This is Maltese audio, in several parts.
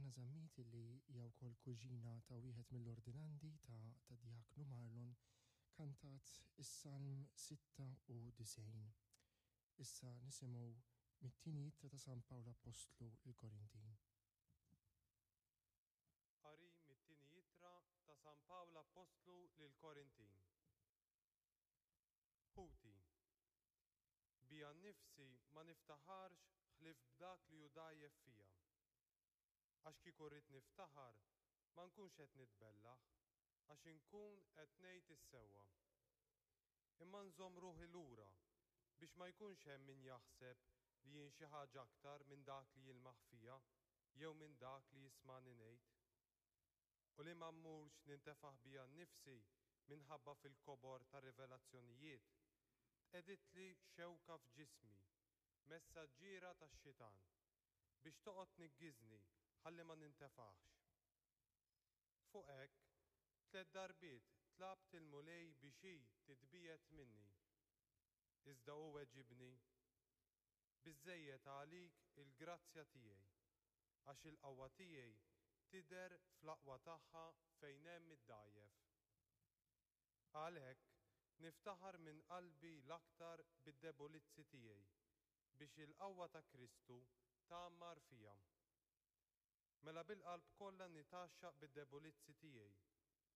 Tatiana Zammit li hija wkoll kuġina ta' wieħed mill-ordinandi ta' tad-Djaknu Marlon kantat is-Salm 96. Issa nisimgħu mit-tieni ittra ta' San Pawl Appostlu lill-Korintin. Qari mit-tieni ittra ta' San Pawl Appostlu lill-Korintin. Ħuti, bija nnifsi ma niftaħarx ħlief b'dak li hu dgħajjef fija. Għax kieku rrid niftaħar, ma nkunx qed nitbellaħ, għax inkun qed ngħid is-sewwa. Imma nżomm ruħi lura biex ma jkunx hemm min jaħseb li jien xi ħaġa aktar minn dak li jilmaħ fija jew minn dak li jismagħni ngħid. U li ma mmurx nintefaħ bija nnifsi minħabba fil-kobor tar-rivelazzjonijiet, tqegħditli xewka f'ġismi, messaġġiera tax-xitan, biex toqgħod tniggiżni ħalli ma nintefaħx. Fuq hekk, tlett darbiet tlabt il-Mulej biex hi titbiegħed minni. Iżda hu weġibni, Biżżejjed għalik il-grazzja tiegħi, għax il-qawwa tiegħi tidher fl-aqwa tagħha fejn hemm id-dgħajjef. Għalhekk, niftaħar minn qalbi l-aktar bid-debulizzi tiegħi, biex il-qawwa ta' Kristu tgħammar fija. Mela bil-qalb kollha nitgħaxxaq bid-debulizzi tiegħi,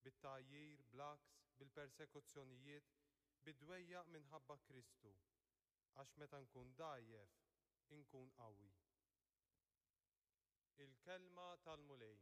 bit-tgħajjir, bl-għaks, bil-persekuzzjonijiet, bid-dwejjaq minħabba Kristu, għax meta nkun dgħajjef, inkun qawwi. Il-Kelma tal-Mulej.